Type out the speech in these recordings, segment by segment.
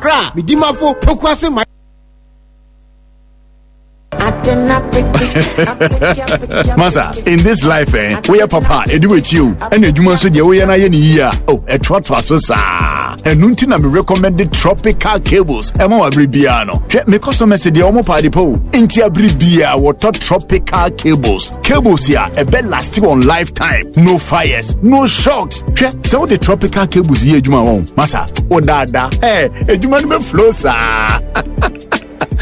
Accra. Medimafo Pokuase ma. Masa, in this life, eh, we are papa, edu echi o, ɛna adwuma nso deɛ woyɛ no ayɛ ne yie a, oh, ɛtoatoa so saa. Ɛno nti na me recommend tropical cables ɛma wɔ abere biara no. Hwɛ, me customers deɛ wɔn paade pa o, nti abere biara wɔtɔ tropical cables. Cables a ɛbɛ last wɔn lifetime, no fires, no shocks. Hwɛ, sɛ wode tropical cables yɛ adwuma wɔn, masa, wodaadaa, eh, adwuma no bɛ flow saa.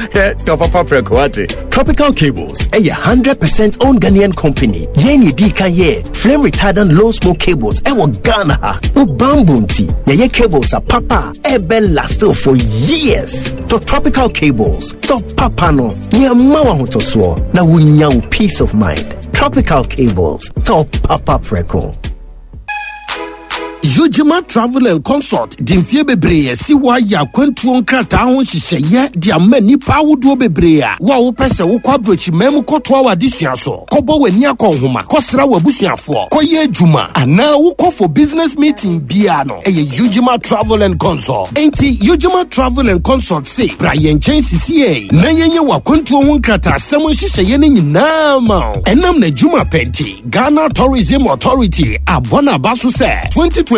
Tɔ papa prɛko wate. Tropical Cables ɛyɛ 100% owned Ghanaian company. Yɛn yɛ di kan yɛ flame retardant low smoke cables ɛwɔ Ghana ha. Wo bamboo nti yɛyɛ cables a papa ɛbɛ last for years. Tɔ Tropical Cables, tɔ papa no, nea mma wo ahotosoɔ na wonya wo peace of mind. Tropical Cables, tɔ papa prɛko. Yojima Travel and Consult de mfeɛ bebree asi hɔ ayɛ akwantuo nkrataa ho nhyehyɛeɛ de ama nnipa ahodoɔ bebree a wo a wopɛ sɛ wokɔ aburokyiman mu kɔtoa w'adesua so, kɔbɔ w'ani akɔ nhoma, kɔsra w'abusuafoɔ, kɔyɛ adwuma anaa wokɔ for business meeting biara no, ɛyɛ Yojima Travel and Consult. Enti Yojima Travel and Consult se bra yɛn nkyɛn sisiei na yɛnyɛ w'akwantuo ho nkrataasɛm nhyehyɛeɛ no nyinaa ma wo. Ɛnam n'adwuma pɛ nti, Ghana Tourism Authority abɔ n'aba so sɛ 2026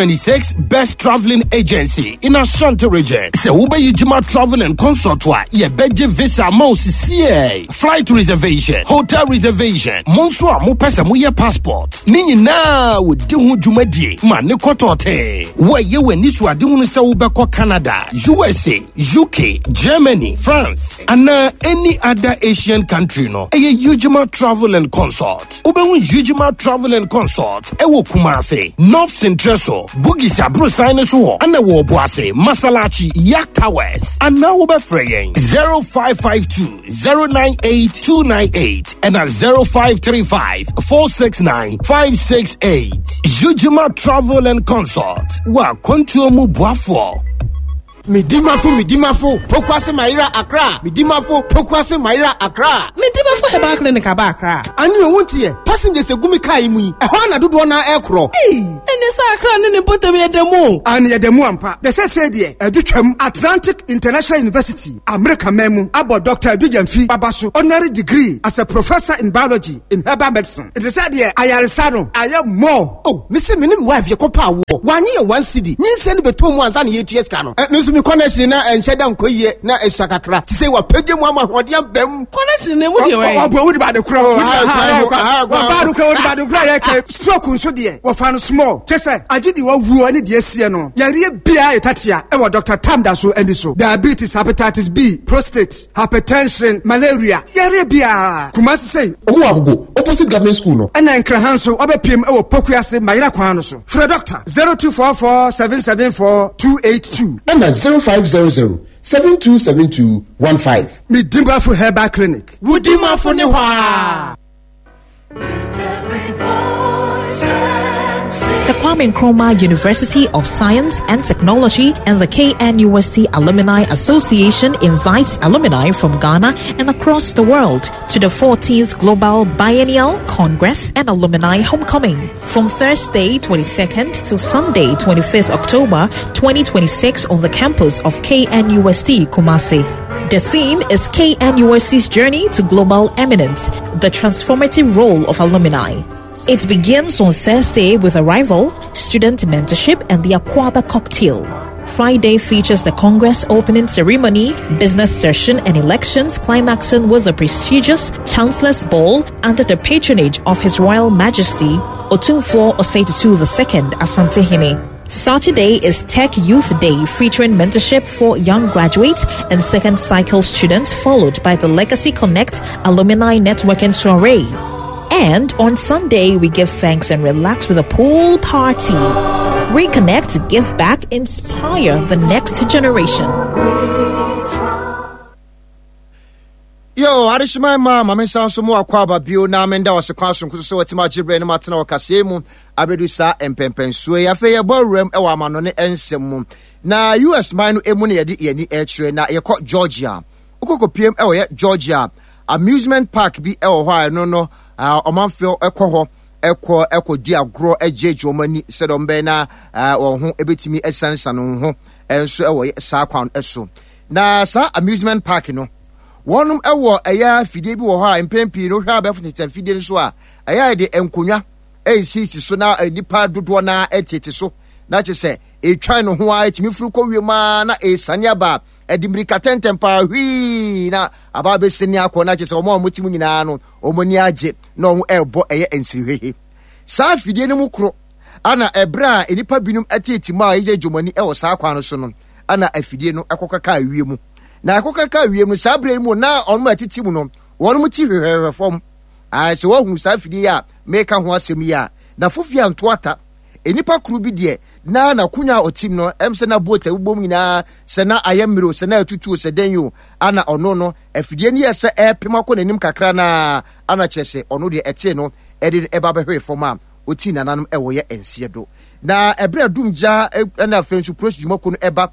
Best Travelling Agency in Ashanti Region. Sɛ wobɛyi Jima Travel and Consult a, yɛbɛgye visa ama wo sisiei, flight reservation, hotel reservation, mo nso a mopɛ sɛ moyɛ passport, ne nyinaa wɔdi ho dwumadie ma ne kɔtɔɔtee. Wɔyɛ w'ani so adehunu sɛ wobɛkɔ Canada, USA, UK, Germany, France, anaa any other Asian country no, ɛyɛ Ujima Travel and Consult. Wobɛhu Ujima Travel and Consult ɛwɔ Kumasi, North Sintreso, Bugis aborosan no so hɔ, ɛna wɔ Obuasi, Masalachi, Yak Towers. Anaa wobɛfrɛ yɛn 0552 098 298 ɛna 0535 469 568. Ujima Travel and Consult, wɔ akwantuo mu boafoɔ. Medimafo Medimafo Pokuase Mayera Accra Medimafo Pokuase Mayera Accra. Medimafo Herbal Clinic aba Accra. Ani owu nteɛ passengers egu mi kaa yi mu yi ɛhɔ ana dodoɔ naa ɛkorɔ. Ei ɛne sɛ Accra ne ne mpɔtam yɛ da mu o. Aane yɛda mu ampa. Na sɛsɛɛ deɛ ɛde twam Atlantic International University, Amerika man mu abɔ Doctor Adu Gyamfi aba so honorary degree as a Professor in Biology in Herbal Medicine. Nti sɛ deɛ ayaresa no ayɛ more. Oh me se me ne me wife yɛkɔ paa woɔ wanye yɛ one cedi nyinsɛn no bɛtɔ mu ansa na yɛtua sika no eh, me nso me connection na ɛnhyɛ da nkɔ yie na ɛsua kakra te sɛ wapagya mu ama ahoɔden aba mu. Connection na emu deɛ wɔyɛ. Ɔbɔ wodi baade korɔ hɔ. Ɔbaa do korɔ wodi baade korɔ yɛ kɛ. Stroke nso deɛ wɔfa no small kyɛ sɛ agye deɛ wawuo ne deɛ asie no yareɛ biara yɛ tatea ɛwɔ Doctor Tam da so ani so diabetes hepatitis B prostate hypertension malaria yareɛ biara Kumasi sei. Ɔmo wɔ Agogo opposite government school no. Ɛna Nkraha nso wabɛpiem ɛwɔ Pokuase Mayera kwan no so. Frɛ Doctor 0244 774 282. Ɛna 0500 7272 15. Medimafo Herbal Clinic. Wo dimafo ne hɔ aa. The Kwame Nkrumah University of Science and Technology and the KNUST Alumni Association invites alumni from Ghana and across the world to the 14th Global Biennial Congress and Alumni Homecoming from Thursday 22nd to Sunday 25th October 2026 on the campus of KNUST Kumasi. The theme is KNUST's journey to global eminence, the transformative role of alumni. It begins on Thursday with arrival, student mentorship, and the Aquaba cocktail. Friday features the Congress opening ceremony, business session, and elections, climaxing with the prestigious Chancellor's Ball under the patronage of His Royal Majesty Otumfuo Osei Tutu II Asantehene. Saturday is Tech Youth Day featuring mentorship for young graduates and second cycle students, followed by the Legacy Connect Alumni Networking Soiree. And on Sunday, we give thanks and relax with a pool party. Reconnect, give back, inspire the next generation. Yo, adehyema ma ma me nsa nso mu akɔ aba bio na menda wɔ se kwan sonko so sɛ watumi agye berɛ no matena wɔ kaseɛ mu abɛdu saa mpɛmpɛnsoɔ yi. Afei yɛbɔ awuram wɔ amanɔne nsɛm mu. Na US man no emu na yɛde yɛn ani ɛkyerɛ na yɛkɔ Georgia. Wokɔkɔpiem wɔ yɛ Georgia amusement park bi wɔ hɔ a ɛno no ɔmanfoɔ kɔ hɔ ɛkɔ ɛkɔdi agorɔ gyegye wɔn ani sɛdeɛ wɔn bɛyɛ na wɔn ho ɛbɛtumi asianesane wɔn ho. nso wɔ saa kwan so. Na saa amusement park no, wɔnom wɔ ɛyɛ afidie bi wɔ hɔ a mpɛn pii no wohwɛ abɛɛfo tete afidie no so a, ɛyɛ a yɛde nkonnwa ɛresisi so na nnipa dodoɔ no ara tete so na kyerɛ sɛ ɛtwan no ho a ɛtumi firi kɔ wiem a na ɛresane aba ɛde mmirika tɛntɛn paa hwii na aba abɛsani akɔ na kyerɛ sɛ wɔn a wɔte mu nyinaa no wɔn ani agye na wɔn ɛrebɔ ɛyɛ nsirihwehe saa afidie no mu koro ana ɛberɛ a nnipa binom ɛtete mu a ɛyɛ dwomani ɛwɔ saa kwan no so no ana afidie no ɛkɔkaka awie mu na ɛkɔkaka awie mu saa berɛ mu na wɔn a ɛtete mu no wɔn ti hwehwɛhwɛ fam. Ae, sɛ woahunu saa afidie yi a mereka ho asɛm yi a, na fofie anto ata. Nnipa koro bi deɛ, na n'akonya a ɔtim no, ɛm sɛ na boat a ɛbobom nyinaa, sɛ na ayɛ mmerɛ o, sɛ na atutu o, sɛ dɛn o, ana ɔno no, afidie no yɛɛ sɛ ɛrepem akɔ n'anim kakra no ara, ana kyerɛ sɛ ɔno deɛ ɛtee no ɛde no ɛba bɛhwee fam a ɔtii nananom ɛwɔ yɛ nseɛ do. Na ɛberɛ a dumgya ɛna afei nso polisi dwumakuo no ɛba.